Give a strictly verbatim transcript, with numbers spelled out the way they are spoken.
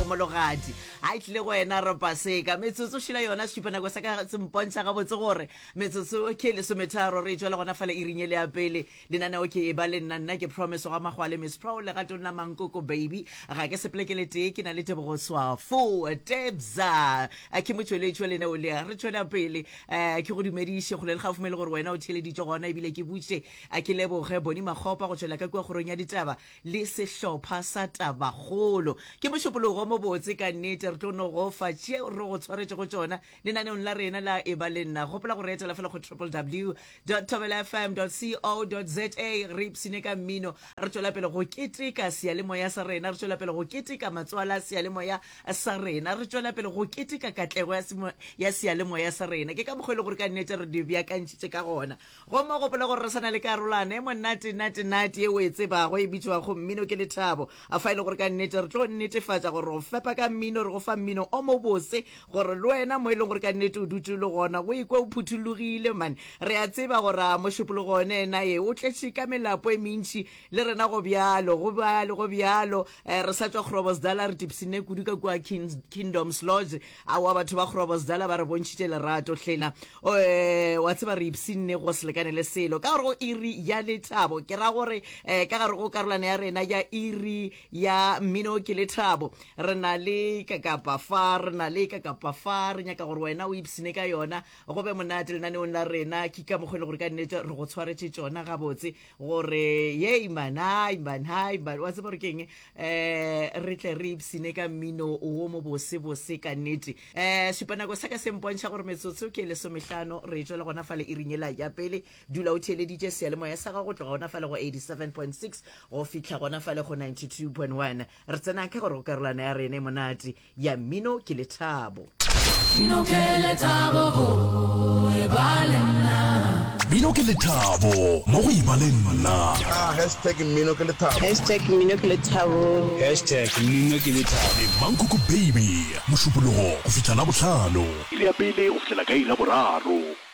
Mologadi a e tlile go wena re paseka metsotso šila yona šupanako sa ka se mpontšha gabotse gore metsotso ke lesometharo re tšwela gona fale iring ele ya pele lenaneo ke e ba le nna nna ke Promise ga Magwale Miss Pro legatong la Mankoko Baby ga ke sepele ke le tee ke na le Tebogo Swafo Tebza ke motšweletši wa leneo le re tšwela pele um ke go dumediše kgole le gaufi mo e le gore wena o theeleditše gona ebile ke butše a ke leboge Boni Makgopa go tšwela ka kua kgorong ya ditaba le sehlopha sa Tabakgolo ke mošupologo mobotse ka nnete re tlo no go fa tšeo re go tshwaretšego tšona lenaneong la rena la e ba le nna gopola go re etela fela go www thobelafm co za re ipsine ka mmino re tšwela pele go keteka seyalemoya sa rena re tšwela pele go keteka matswala a seyalemoya sa rena re tšwela pele go keteka katlego ya, ya seyalemoya sa rena ke ka mokgwa e le gore ka nnete re di beakantšhitše ka gona gomme gopola gore re sa na le karolwana e monate nate nate ye o e tsebago e bitšwago mmino ke lethabo a fa e le gore ka nnete re tlo netefatša gore go fepa ka mmino re go fa mmino o mobose gore le wena mo e leng gore ka nnete o dutse le gona o ikwe o phuthologile man re a tseba gore a mošupologo one ena ye o tletše ka melapo e mentši le rena go bjalo go bjalo go bjalo um re sa tšwa Groblersdal re tipsine kudu ka kua Kingdoms Lodge aowa batho ba Groblersdal ba re bontšhitše lerato hlena um wa tseba re ipshinne go se lekane le selo ka gore go iri ya lethabo ke ra gore um ka gare go karolwana ya rena ya iri ya mmino ke lethabo re na le kakapa fa re na le kakapa fa re nyaka gore wena o ipshine ka yona go be monate lenaneong la rena ke ka mokgwa e le gore ka nnete re go tshwaretše tšona gabotse gore yei man hai man hai man wa tseba gore keng um re tle re ipsine ka mmino wo mo bosebose ka nnete um šupanako sa ka se mpontšha gore metsotso ke lesomehlano re tšwela gona fale iring ela ya pele dula o theeleditše seyalemoya sa gago go tloga gona fale go eighty-seven point six go fihla gona fale go ninety-two point one re tsena ka gore go karolwana ya rena e monate ya mmino ke lethabo. Mmino ke lethabo, oh, e ba le nna. Mmino ke lethabo, mo go e ba le nna. Ah, hashtag mmino ke lethabo. Hashtag mmino ke lethabo. Hashtag mmino ke lethabo. Le Mankoko Baby, Mošupologo go fihla Labohlano. Iri ya pele go fihlela ka iri ya boraro.